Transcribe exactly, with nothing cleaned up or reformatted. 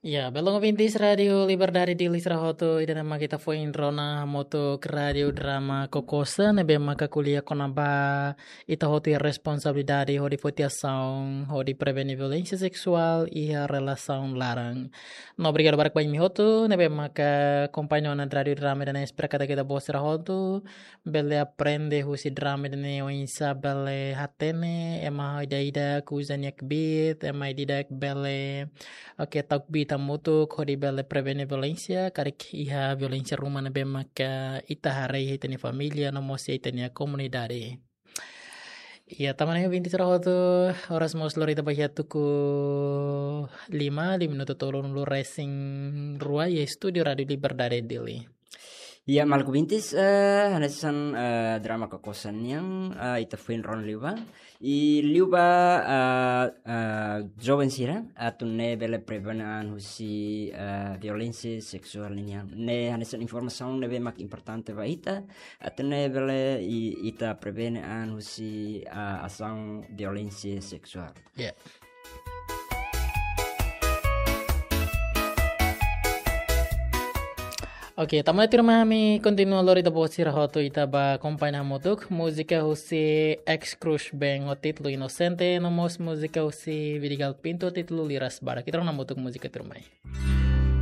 Ya, belun ouvintes Rádio Liberdade Dili sira hotu, ida-ne'e mak ita foin rona hamutuk Rádio Drama Kokosa, ne'ebé maka ko'alia kona-ba ita hotu iha responsabilidade hodi foti asaun, hodi prevene violénsia seksuál iha relasaun laran. No obrigadu barak ba imi hotu, ne'ebé maka akompaña ona Rádio Drama ida-ne'e, espera katak ita-boot sira hotu bele aprende husi drama ida-ne'e oinsá bele hatene ema ida-idak uza nia kbiit, ema ida-idak bele, oke, tau kbiit hamutuk hodi bele prevene violénsia, karik iha violénsia ruma ne'ebé maka ita haree iha ita-nia família no mós iha ita-nia komunidade. Ya, tan ne'e ouvintes sira hotu, oras mós lori ita ba iha tuku lima, lima minutu tolunulu resin rua iha estúdiu Rádio Liberdade Dili. Ya, maluk ouvintes, eh, hanesan, eh, Drama Kokosa nian, eh, ita foin rona liubá. I liubá, eh, eh, joven sira atu nune'e bele prevene an husi, eh, violénsia seksuál nian. Ne'e hanesan informasaun ne'ebé mak importante ba ita, atu nune'e bele i-, ita prevene an husi, eh, asaun violénsia seksuál. Ya. Oke, tanba ne'e tuirmai ami kontinua lori ita-boot sira hotu, ita ba akompaña hamutuk múzika husi Ex Crush Band ho títulu Inocente, no mós múzika husi Vidigal Pinto títulu Liras Barak. Ita rona hamutuk múzika tuirmai.